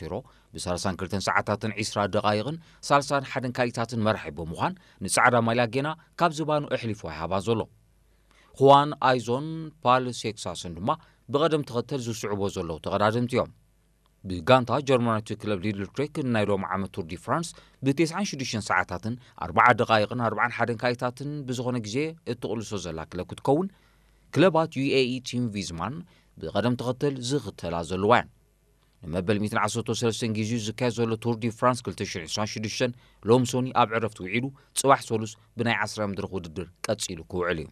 ቴሮ ብ32 ሰዓታትን 20 ደቓይቕን 31 ካሊታትን መራሒ ብምዃን፣ ንጻዕዳ ማልያ ጌና ካብ ዝባኑ ኣሕሊፉ ኣይሃባን ዘሎ። ኹዋን ኣይዞን ፓል ሴክሳስን ድማ ብቐደም ተኸተል ዝስዕቦ ዘለዉ ተቐዳደምቲ እዮም። ብጋንታ ጀርመናዊት ክለብ ሊድል ትሬክ ናይ ሎሚ ዓመት ቱር ዲ ፍራንስ ብ96 ሰዓታትን ኣርባዓ ደቓይቕን ኣርባዓን ሓደን ካሊታትን ብዝኾነ ግዜ እትቕልሶ ዘላ ክለብ ክትከውን፣ ክለባት ዩ ኤ ኢ ቲም ቪዝማን ብቐደም ተኸተል ዝኽተላ ዘለዋ እየን። ንመበል ሚእትን ዓሰርተ ሰለስተን ግዜኡ ዝካየድ ዘሎ ቱር ዲ ፍራንስ ክልተ ሽሕን ዕስራን ሽዱሽተን ሎም ሶኒ ኣብ ዕረፍቲ ውዒሉ፣ ጽባሕ ሰሉስ ብናይ ዓስራ መድረኽ ውድድር ቀጺሉ ክውዕል እዩ።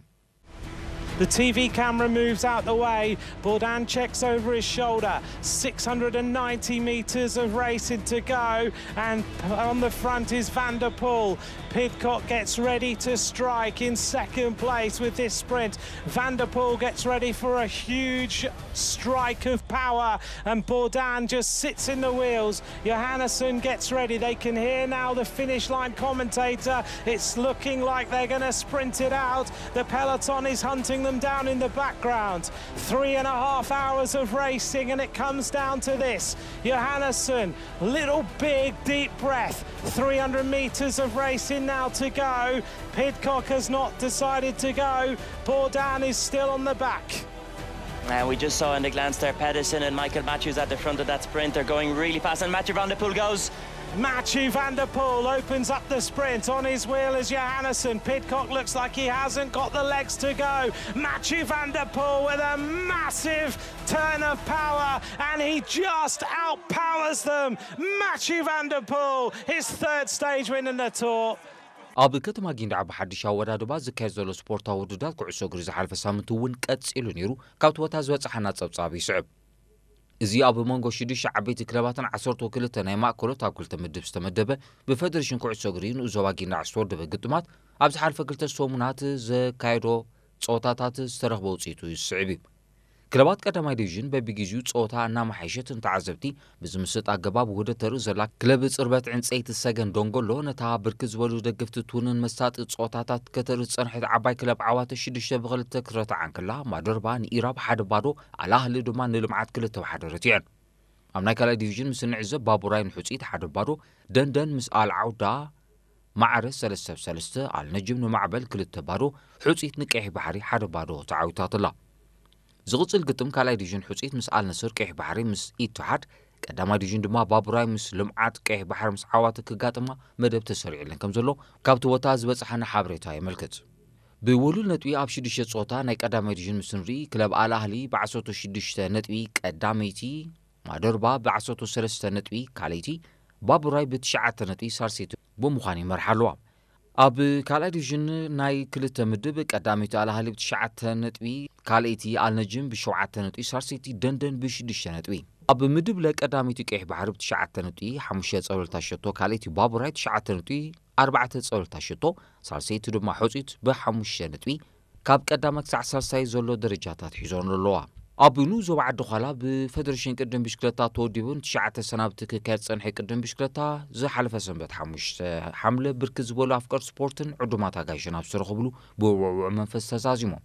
The T V camera moves out the way. Bourdin checks over his shoulder. six hundred and ninety metres of racing to go. And on the front is Van der Poel. Pidcock gets ready to strike in second place with this sprint. Van der Poel gets ready for a huge strike of power. And Bourdin just sits in the wheels. Johannesson gets ready. They can hear now the finish line commentator. It's looking like they're going to sprint it out. The peloton is hunting them down in the background. Three and a half hours of racing, and it comes down to this. Johannesson, little big deep breath. three hundred metres of racing now to go. Pidcock has not decided to go. Bourdin is still on the back. And we just saw in the glance there, Pedersen and Michael Matthews at the front of that sprint. They're going really fast, and Mathieu van der Poel goes. Mathieu van der Poel opens up the sprint on his wheel as Johannesson. Pidcock looks like he hasn't got the legs to go. Mathieu van der Poel with a massive turn of power, and he just outpowers them. Mathieu van der Poel, his third stage win in the Tour. ኣብ ከተማ ጊንዳዕ ብሓድሽ ኣወዳድባ ዝካየድ ዘሎ ስፖርታዊ ውድድራት ኩዕሶ እግሪ ዝሓለፈ ሳምንት እውን ቀጺሉ ነይሩ። ካብቲ ቦታ ዝበጻሓና ጸብጻብ ይስዕብ። እዚ ኣብ መንጎ ሽዱሽተ ዓበይቲ ክለባትን ዓሰርተ ክልተ ናይ ማእከሎት ኣብ ክልተ ምድብ ዝተመደበ፣ ብፈደሬሽን ኩዕሶ እግሪ ንኡስ ዞባ ጊንዳዕ ዝተወደበ ግጥማት ኣብ ዝሓለፈ ክልተ ሰሙናት ዘካየዶ ጸወታታት ዝተረኽበ ውጽኢቱ ዝስዕብ እዩ። ክለባት ቀዳማይ ዲቪዥን በቢግዜኡ ጸወታ እናመሓየሸት ንተዓዘብቲ ብዝምስጥ ኣገባብ ውህደት ተርኢ ዘላ ክለብ ጽርበት ዕንጸይቲ ሰገን ደንጎሎ፣ ነታ ብርክት ዝበሉ ደገፍቲ ትውንን መሳጢ ጸወታታት ከተርኢ ዝጸንሐት ዓባይ ክለብ ዓዋተ ሽዱሽተ ብኽልተ ክትረትዓ እንከላ፣ ማደርባ ንኢራብ ሓደ ባዶ፣ ኣልኣህሊ ድማ ንልምዓት ክልተ ብሓደ ረቲዐን። ኣብ ናይ ካልኣይ ዲቪዥን ምስ እንዕዘብ፣ ባቡራይ ንሑጺት ሓደ ባዶ፣ ደንደን ምስ ኣል ዓውዳ ማዕረ ሰለስተ ብ ሰለስተ፣ ኣልነጅም ንማዕበል ክልተ ባዶ፣ ሑጺት ንቀይሕ ባሕሪ ሓደ ባዶ ተዓዊታትላ። ዝቕጽል ግጥም ካልኣይ ዲቪዥን ሑጺት ምስ ኣልነስር፣ ቀይሕ ባሕሪ ምስ ኢትሓድ፣ ቀዳማይ ዲቪዥን ድማ ባቡራይ ምስ ልምዓት ቀይሕ ባሕሪ ምስ ዓዋተ ክጋጥማ መደብ ተሰሪዕለን ከም ዘሎ ካብቲ ቦታ ዝበጽሓና ሓበሬታ የመልክት። ብውሉል ነጥቢ ኣብ ሽዱሽተ ጸወታ ናይ ቀዳማይ ዲቪዥን ምስ ንርኢ፣ ክለብ ኣል ኣህሊ ብ16 ነጥቢ ቀዳመይቲ፣ ማደርባ ብ13 ነጥቢ ካልኣይቲ፣ ባቡራይ ብትሽዓተ ነጥቢ ሳልሰይቲ ብምዃን ይመርሓ ኣለዋ። ኣብ ካልኣይ ዲቪዥን ናይ ክልተ ምድብ ቀዳመይቲ ኣል ኣህሊ ብትሽዓተ ነጥቢ፣ ካልኣይቲ ኣልነጅም ብሸውዓተ ነጥቢ፣ ሳልሰይቲ ደንደን ብሽዱሽተ ነጥቢ። ኣብ ምድብ ለ ቀዳመይቲ ቀይሕ ባሕሪ ብትሽዓተ ነጥቢ ሓሙሽተ ጸብለልታ ሸቶ፣ ካልኣይቲ ባቡራይ ትሽዓተ ነጥቢ ኣርባዕተ ጸብለልታ ሸቶ፣ ሳልሰይቲ ድማ ሑጺት ብሓሙሽተ ነጥቢ ካብ ቀዳማይ ክሳዕ ሳልሳይ ዘሎ ደረጃታት ሒዞን ኣለዋ። ኣብ ንኡስ ዞባ ዓዲ ዃላ ብፈደሬሽን ቅድም ብሽክለታ ተወዲቡ ንትሽዓተ ሰናብቲ ክካየድ ዝጸንሐ ቅድም ብሽክለታ ዝሓለፈ ሰንበት ሓሙሽተ ሓምለ ብርክት ዝበሉ ኣፍቀርቲ ስፖርትን ዕዱማት ኣጋይሽን ኣብ ዝተረኸብሉ ብውዕውዕ መንፈስ ተዛዚሞም።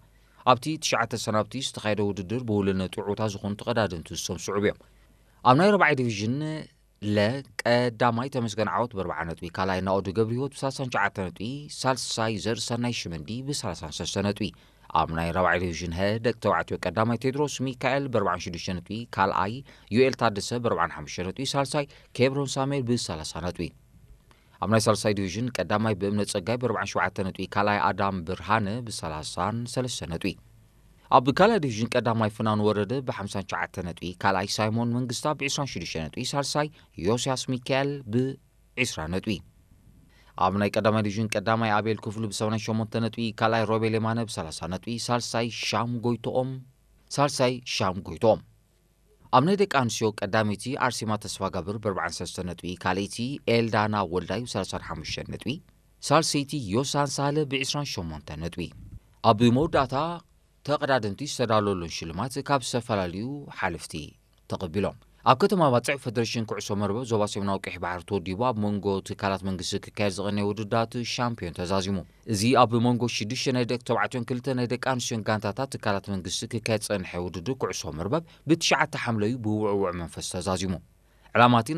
ኣብቲ ትሽዓተ ሰናብቲ ዝተኻየደ ውድድር ብውሉል ነጥቢ ዕውታት ዝኾኑ ተቐዳደምቲ ዝተምስዑ እዮም። ኣብ ናይ ረብዓይ ዲቪዥን ለ ቀዳማይ ተመስገን ዓወት ብ40 ነጥቢ፣ ካልኣይ ናኦድ ገብረህይወት ብ39 ነጥቢ፣ ሳልሳይ ዘርእሰናይ ሽመንዲ ብ33 ነጥቢ። ኣብ ናይ ራብዓይ ዲቪዥን ሀ ደቂ ተባዕትዮ ቀዳማይ ቴድሮስ ሚካኤል ብ46 ነጥቢ፣ ካልኣይ ዩኤል ታደሰ ብ45 ነጥቢ፣ ሳልሳይ ኬብሮን ሳሙኤል ብ30 ነጥቢ። ኣብ ናይ ሳልሳይ ዲቪዥን ቀዳማይ ብእምነ ጸጋይ ብ47 ነጥቢ፣ ካልኣይ ኣዳም ብርሃነ ብ33 ነጥቢ። ኣብ ካልኣይ ዲቪዥን ቀዳማይ ፍናን ወረደ ብ59 ነጥቢ፣ ካልኣይ ሳይሞን መንግስታ ብ26 ነጥቢ፣ ሳልሳይ ዮስያስ ሚካኤል ብ20 ነጥቢ። ኣብ ናይ ቀዳማይ ዲቪዥን ቀዳማይ ኣቤል ክፍሉ ብ88 ነጥቢ፣ ካልኣይ ሮቤል የማነ ብ30 ነጥቢ፣ ሳልሳይ ሻም ጎይቶኦም ሳልሳይ ሻም ጎይቶኦም። ኣብ ናይ ደቂ ኣንስትዮ ቀዳመይቲ ኣርሴማ ተስፋጋብር ብ43 ነጥቢ፣ ካልኣይቲ ኤልዳና ወልዳይ ብ35 ነጥቢ፣ ሳልሰይቲ ዮሳን ሳህለ ብ28 ነጥቢ። ኣብ መወዳእታ ተቐዳደምቲ ዝተዳለወሎም ሽልማት ካብ ዝተፈላለዩ ሓለፍቲ ተቐቢሎም። ኣብ ከተማ ባጽዕ ፈደሬሽን ኩዕሶ መርበብ ዞባ ሰሜናዊ ቀይሕ ባሕሪ ተወዲቡ ኣብ መንጎ ትካላት መንግስቲ ክካየድ ዝቐነየ ውድድራት ሻምፒዮን ተዛዚሙ። እዚ ኣብ መንጎ ሽዱሽተ ናይ ደቂ ተባዕትዮን ክልተ ናይ ደቂ ኣንስትዮን ጋንታታት ትካላት መንግስቲ ክካየድ ዝጸንሐ ውድድር ኩዕሶ መርበብ ብትሽዓተ ሓምለዩ ብውዕውዕ መንፈስ ተዛዚሙ። ዕላማቲ